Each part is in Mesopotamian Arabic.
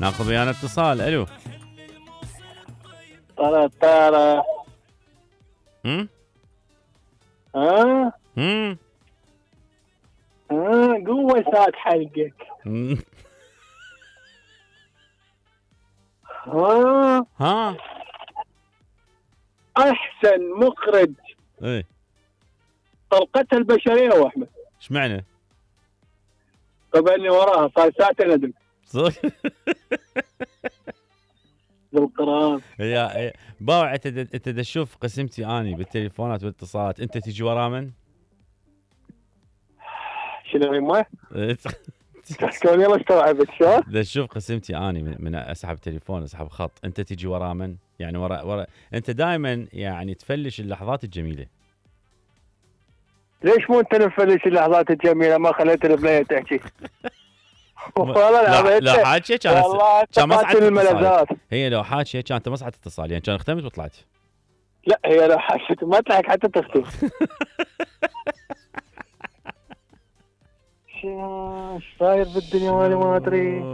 ناخذ ويانا اتصال. الو. طارة هم ها هم قوة ساعة حلقك. ها احسن مخرج ايه طلقتها البشرية واحمد. ايش معنى؟ طبعا اللي وراها صار ساعتين ندم صدق. بالقران. يا باوع انت تشوف قسمتي اني بالتليفونات والاتصالات، انت تجي ورا من؟ شنو يما؟ تحكون يلا استوعبت شلون؟ تشوف قسمتي اني من اسحب تليفون اسحب خط، انت تجي ورا من؟ يعني ورا انت دائما يعني تفلش اللحظات الجميله. ليش مو انت نفلش اللحظات الجميله ما خليت البنيه تحكي؟ والله لا حاجه كان مصعد الملذات. هي لو حاجه كانت مصعد اتصال يعني كان اختمت وطلعت. لا هي لو حاجه ما تلحق حتى تختم. ايش صاير بالدنيا وانا ما ادري.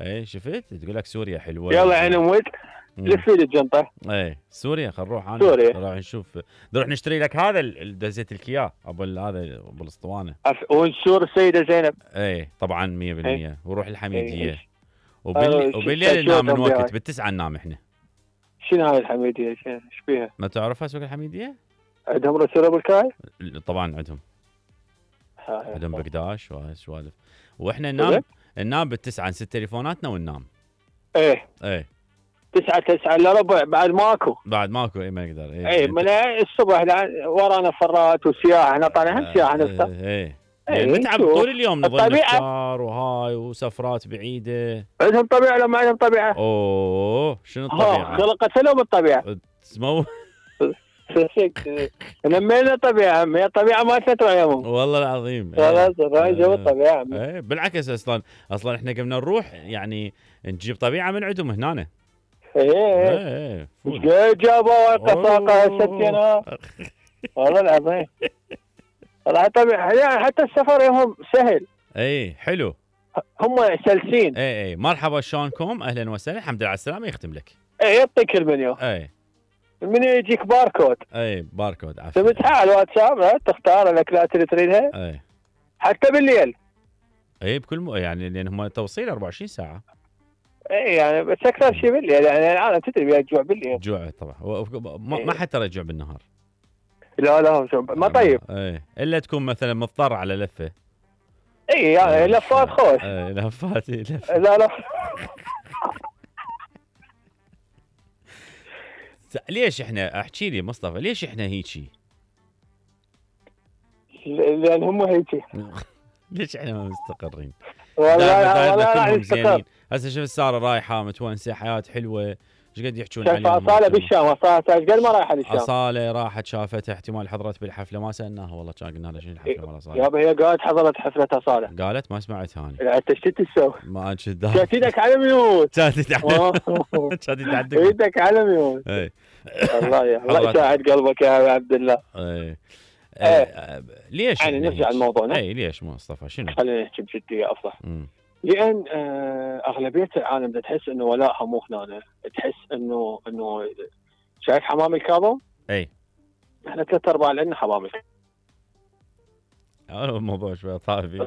اي شفت تقول لك سوريا حلوه. يلا عين امك لفي لي الجنطه. اي سوريا خل نروح. انا سوريا نروح نشوف، نروح نشتري لك هذا دزيت لك اياه ابو هذا ابو الاسطوانه ونشور السيده زينب. اي طبعا 100%. وروح الحميديه. وبالليل وبالليل ننام من وقت بالتسعه ننام احنا. شنو هاي الحميديه؟ ايش بيها؟ ما تعرفها سوق الحميديه؟ عندهم رسول ابو الكاي؟ طبعا عندهم بقداش وسوالف. واحنا ننام بالتسعه نسد تليفوناتنا وننام. ايه 9 الا ربع بعد ماكو اي ما نقدر. ايه من الصبح ورانا فرات وسياحه. احنا طالعين سياحه نفسها. ايه نتعب طول اليوم نظل نفطر وهاي وسفرات بعيده. عندهم طبيعه ولا ما عندهم طبيعه؟ اوه شنو الطبيعه؟ خلقت لهم الطبيعه. نمينا طبيعه هي الطبيعه ما تتوعيهم والله العظيم. خلاص راي جو الطبيعه. ايه بالعكس اصلا احنا قمنا نروح يعني نجيب طبيعه من عندهم هنا. ايه جابوا قصاقه السكينه. والله العظيم والله طبيعي يعني حتى السفر يوم سهل. اي حلو هم سلسين. اي مرحبا شلونكم اهلا وسهلا الحمد لله على السلامه يختم لك. اي يعطيك المنيو. المنيو يجيك باركود. باركود عفوا تمسحه على الواتساب تختار الاكلات اللي تريدها. حتى بالليل. بكل يعني لان هم توصيل 24 ساعه. يعني بس اكثر شيء بالليل يعني العالم تدري بيها الجوع بالليل. جوع طبعا ما حد ترى يجوع بالنهار. لا ما طيب. الا تكون مثلا مضطر على لفه. يعني لفات خوش. لفات لا ليش احنا احكي لي مصطفى ليش احنا هيجي؟ لان هم هيجي. ليش احنا ما مستقرين؟ والله مستقر. هسه شوف ساره رايحه متونسه حياه حلوه ايش قد يحجون عليها. اصاله بالشام ايش قد ما رايحه للشام. اصاله راحت شافتها احتمال حضرت بالحفله ما سالناها والله كان قلنا لها شنو الحفله مال اصاله. يابا هي قالت حضرت حفله اصاله. قالت ما سمعتها انا. لا انت ايش تسوي؟ ما انت شاتيدك على ميوت. شاتيدك عندك. ايدك على ميوت. الله يساعد قلبك يا عبد الله. ليش يعني نرجع لموضوعنا. ليش مصطفى شنو؟ خلينا نحكي بجديه افضل. لان اغلبيه العالم تحس انه ولاءها مو هنا. تحس انه شايف حمام الكاظم؟ احنا 3/4 لنا حمام الكاظم. الموضوع شوي طافي.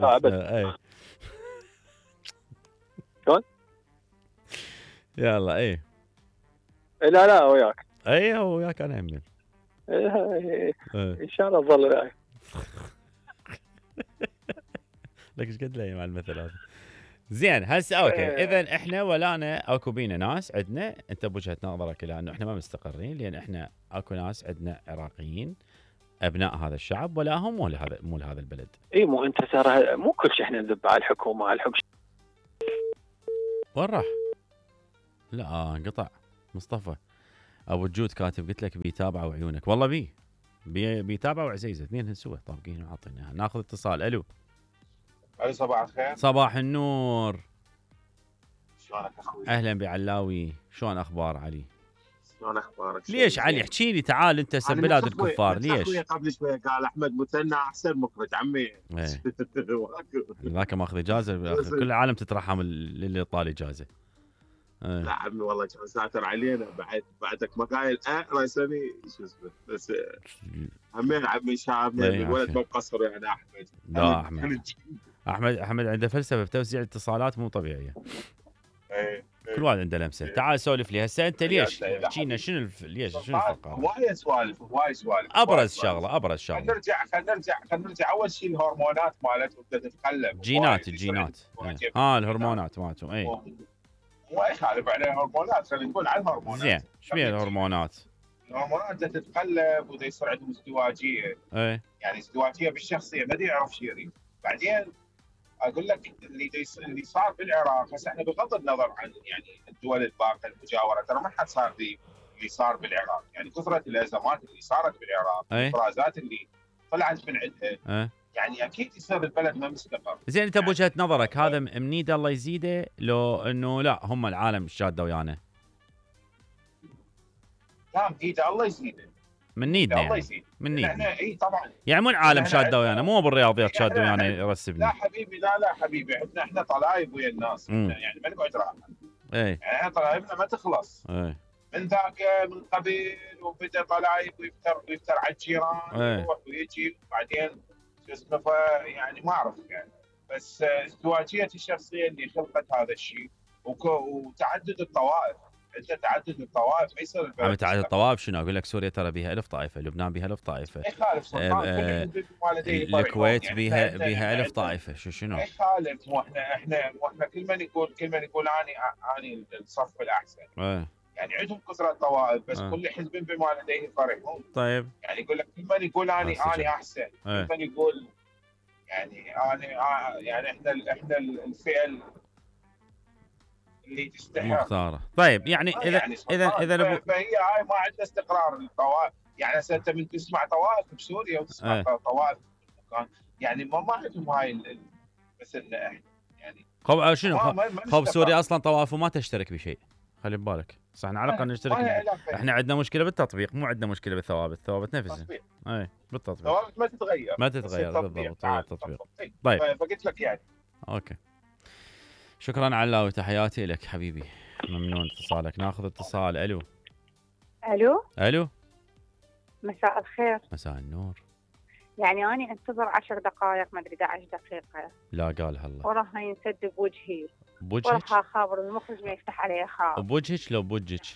شلون؟ يلا لا وياك. وياك انا يمين. ان شاء الله تظل وياي. لك ايش قد لي مع المثل هذا. زين هسه اوكي اذا احنا ولانا اكو بينا ناس عندنا انت بوجهه نظرك لانه احنا ما مستقرين لان احنا اكو ناس عندنا عراقيين ابناء هذا الشعب ولاهم مو لهذا البلد. مو انت ترى مو كل شيء احنا نذب على الحكومه على الحكم. وين راح؟ لا انقطع مصطفى. ابو الجود كاتب قلت لك بيتابعوا عيونك والله بيتابعوا عزيزه اثنين سوا طابقين وعاطينها. ناخذ اتصال. الو صباح الخير. صباح النور. شلونك اخوي؟ اهلا بعلاوي شلون اخبار علي؟ شلون اخبارك؟ ليش علي احكي لي تعال انت بلاد الكفار ليش؟ قبل شوي قال احمد مثنى احسن مخرج عمي. ذاك ماخذ اجازه كل العالم تترحم اللي طال اجازه. لا عمي والله كان ساتر علينا بعدك ما قايل راسني شو اسمه بس همين عمي شامل الولد ما مقصر يعني احمد. لا احمد عنده فلسفه بتوزيع الاتصالات مو طبيعيه. كل واحد عنده لمسه. تعال سولف لي هسه انت ليش احكينا شنو ليش شنو الفقره؟ وايد سوالف ابرز شغله خلينا نرجع اول شيء الهرمونات مالتهم بدها تتقلب. الجينات الهرمونات مالتهم اي ما يخالف عليه الهرمونات. خلينا نقول عن الهرمونات. زين ايش بيها الهرمونات بدها تتقلب ودا يصير عندهم ازدواجيه. يعني ازدواجيه بالشخصيه ما يعرف شيء يريد. بعدين اقول لك اللي صار بالعراق هسه احنا بغض النظر عن يعني الدول الباقيه المجاوره ترى ما حد صار اللي صار بالعراق. يعني كثره الازمات اللي صارت بالعراق الافرازات اللي طلعت من عندها يعني اكيد يصير البلد ما مستقر. زين انت بوجهه نظرك هذا منيد الله يزيده لو انه لا هم العالم شاده ويانا؟ لا منيده الله يزيده. من نيدنا الله يزيد. من نيدنا. اي طبعا. يعني مو العالم شاده ويانا مو بالرياضيات شاده ويانا يرسبني. لا حبيبي لا حبيبي احنا طلايب ويا الناس. يعني ما نقعد راحه. يعني احنا طلايبنا ما تخلص. من ذاك من قبل وبدا طلايب ويفتر على الجيران ويروح ويجي وبعدين شو اسمه يعني ما اعرف يعني بس ازدواجيه الشخصيه اللي خلقت هذا الشيء وتعدد الطوائف. انت تعدد الطوائف ما يصير عم تعدد الطوائف شنو اقول لك؟ سوريا ترى بيها 1000 طائفه، لبنان بيها 1000 طائفه، ما يخالف الكويت بيها 1000 طائفه. شنو؟ ما يخالف. مو احنا كل من يقول اني الصف الاحسن. يعني عندهم كثره طوائف بس كل حزب بما لديه فرحون. طيب يعني يقول لك كل من يقول اني احسن، كل من يقول يعني يعني احنا الفئه اللي تستحق مختاره. طيب يعني اذا فهي هاي ما عندها استقرار الطوائف. يعني هسه انت من تسمع طوائف بسوريا وتسمع طوائف بمكان يعني ما عندهم هاي مثلنا يعني شنو خوف سوريا اصلا طوائفه ما تشترك بشيء. خلي ببالك صح احنا على الاقل نشترك. احنا عندنا مشكله بالتطبيق مو عندنا مشكله بالثوابت. الثوابت نفسها بالتطبيق الثوابت ما تتغير بالضبط. التطبيق طيب فقلت لك يعني اوكي. شكرا على وتحياتي لك حبيبي، ممنون اتصالك. ناخذ اتصال. الو مساء الخير. مساء النور. يعني أنا انتظر 10 دقائق ما ادري 11 دقيقه لا قالها الله وراها ينسد بوجهي بوجهك وراها خابر المخرج ما يفتح عليه خاب. بوجهك لو بوجهك؟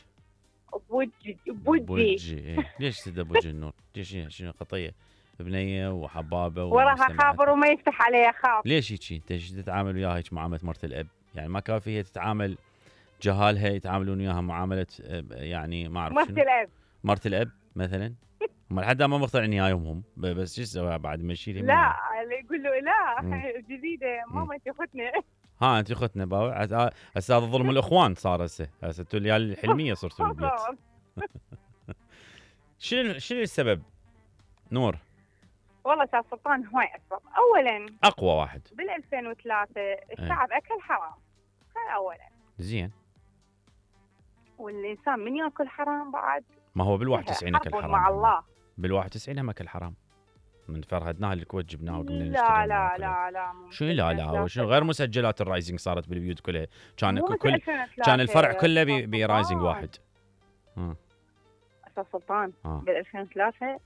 بوجهي ليش تسد بوجه النور؟ ليش شنو خطيه؟ بنيه وحبابه وراها خابر وما يفتح عليه خاب. ليش هيك؟ انت ايش تتعامل وياها هيك معامله مرت الاب؟ يعني ما كافي هي تتعامل جهالها يتعاملون وياها معامله يعني ما اعرف شنو مرت الاب مثلا. هم لحد ما مقتنعين وياهم بس شو اسوي بعد ما يشيل؟ لا يقول له لا جديده ماما انت اختنا. انت اختنا باوع. هسه هذا ظلم الاخوان صار. هسه انتوا العيال الحلميه صرتوا بالبيت. شنو السبب نور؟ والله استاذ سلطان هواي اسباب. اولا اقوى واحد بال 2003 الشعب اكل حرام. هاي اولا. زين. والانسان من ياكل حرام بعد ما هو بال 91 اكل حرام مع الله. بال 91 هم اكل حرام. من فرهدناها الكويت جبناها وقمنا نشتري. لا شنو لا وشنو غير مسجلات الرايزنج صارت بالبيوت كلها. كان الفرع كله برايزنج واحد. استاذ سلطان بال 2003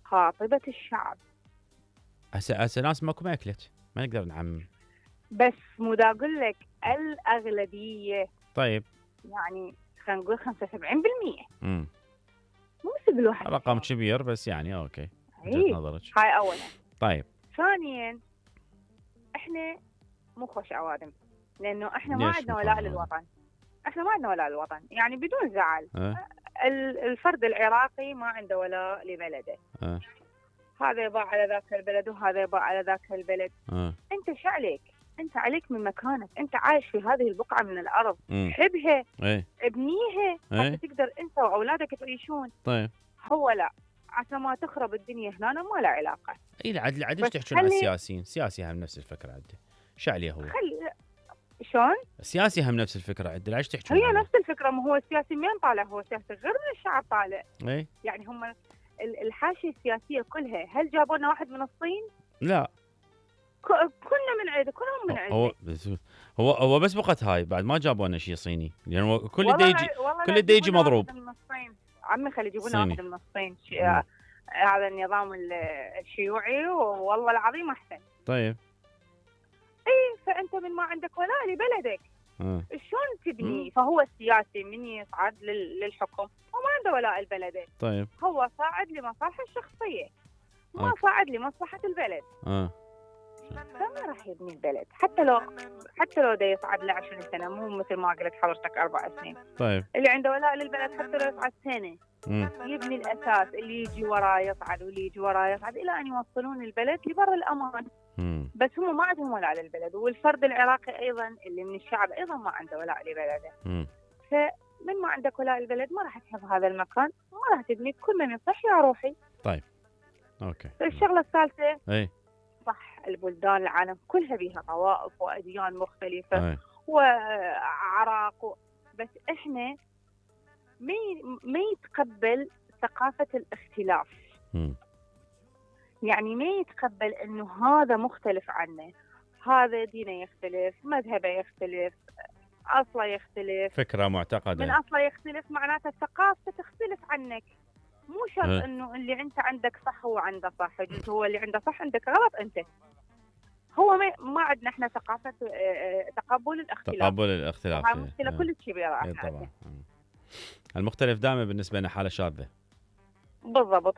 خاطبة الشعب. هسه ناس ماكو ما اكلت ما نقدر نعمم. بس مو دا اقول لك الاغلبيه. طيب يعني خلينا نقول 75%. مو مثل بالواحد رقم كبير بس يعني اوكي. وجهة نظرك هاي اولا. طيب ثانيا احنا مو خوش عوادم لانه احنا ما عندنا ولاء للوطن. احنا ما عندنا ولاء للوطن يعني بدون زعل. الفرد العراقي ما عنده ولاء لبلده. هذا يباع على ذاك البلد وهذا يباع على ذاك البلد. انت شو عليك؟ انت عليك من مكانك. انت عايش في هذه البقعه من الارض. حبها ابنيها حتى تقدر انت واولادك تعيشون. طيب هو لا عشان ما تخرب الدنيا هنا ما له علاقه. اي عدل ايش تحكون عن السياسيين؟ السياسي هم نفس الفكره عنده. شو عليه هو؟ شلون؟ السياسي هم نفس الفكره عنده. ايش تحكون؟ هي نفس الفكره. ما هو السياسي مين طالع؟ هو سياسي غير من الشعب طالع. يعني هم الحاشيه السياسيه كلها هل جابوا لنا واحد من الصين؟ لا كلنا من عيده. كلهم من عيده. هو بس بقت هاي بعد ما جابوا لنا شيء صيني لان يعني كل يجي مضروب. عمي خلي يجيبون واحد من الصين هذا النظام الشيوعي والله العظيم احسن. طيب اي فانت من ما عندك ولاء لبلدك شلون تبني؟ فهو السياسي من يصعد للحكم هو ما عنده ولاء البلد. طيب هو صاعد لمصالحه الشخصيه ما صاعد لمصلحه البلد. فما راح يبني البلد حتى لو دا يصعد له 20 سنه مو مثل ما قلت حضرتك 4 سنين. طيب اللي عنده ولاء للبلد حتى لو يصعد سنه يبني الاساس، اللي يجي وراه يصعد واللي يجي وراه يصعد الى ان يوصلون البلد لبر الامان. بس هم ما عندهم ولاء للبلد، والفرد العراقي ايضا اللي من الشعب ايضا ما عنده ولاء لبلده. فمن ما عندك ولاء للبلد ما راح تحب هذا المكان، ما راح تبني. كل من يصح يا روحي. طيب اوكي. الشغله الثالثه اي صح، البلدان العالم كلها بها طوائف واديان مختلفه وأعراق بس احنا ما يتقبل ثقافه الاختلاف. يعني ما يتقبل انه هذا مختلف عنه، هذا دينه يختلف، مذهبه يختلف، اصله يختلف، فكره معتقده من اصله يختلف، معناته ثقافته تختلف عنك. مو شرط انه اللي انت عندك صح هو عنده صح، يجوز هو اللي عنده صح عندك غلط انت. هو ما عندنا احنا ثقافه تقبل الاختلاف. هاي مشكله كلش كبيره طبعا. المختلف دائما بالنسبه لنا حاله شاذه. بالضبط.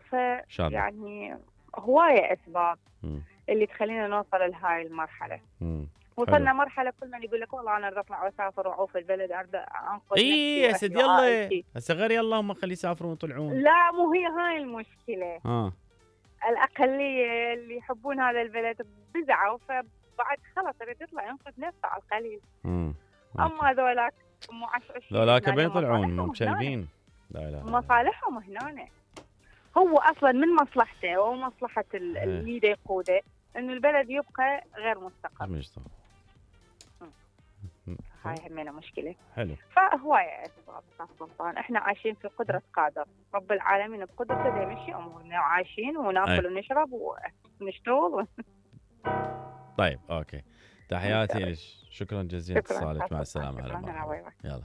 يعني هوايه اسباب اللي تخلينا نوصل لهاي المرحله. وصلنا مرحله كل من يقول لك والله انا اريد اطلع واسافر واعوف البلد، اريد انقذ نفسي يا سيدي يلا هسه غير يلا هم خلي يسافرون ويطلعون. لا مو هي هاي المشكله. الاقليه اللي يحبون هذا البلد بزعوا، فبعد خلص يريد يطلع ينقذ نفسه على القليل. اما ذولاك ذولاك بين يطلعون مشلبين. لا مصالحهم هنا. هو اصلا من مصلحته ومصلحه اللي يقوده انه البلد يبقى غير مستقر. هاي همينة مشكله. حلو. فهوايه اسباب سلطان. احنا عايشين في قدره قادر رب العالمين، بقدرته دا يمشي امورنا وعايشين وناكل ونشرب ونشتغل طيب اوكي. تحياتي لك، شكرا جزيلا اتصالك، مع السلامه. يلا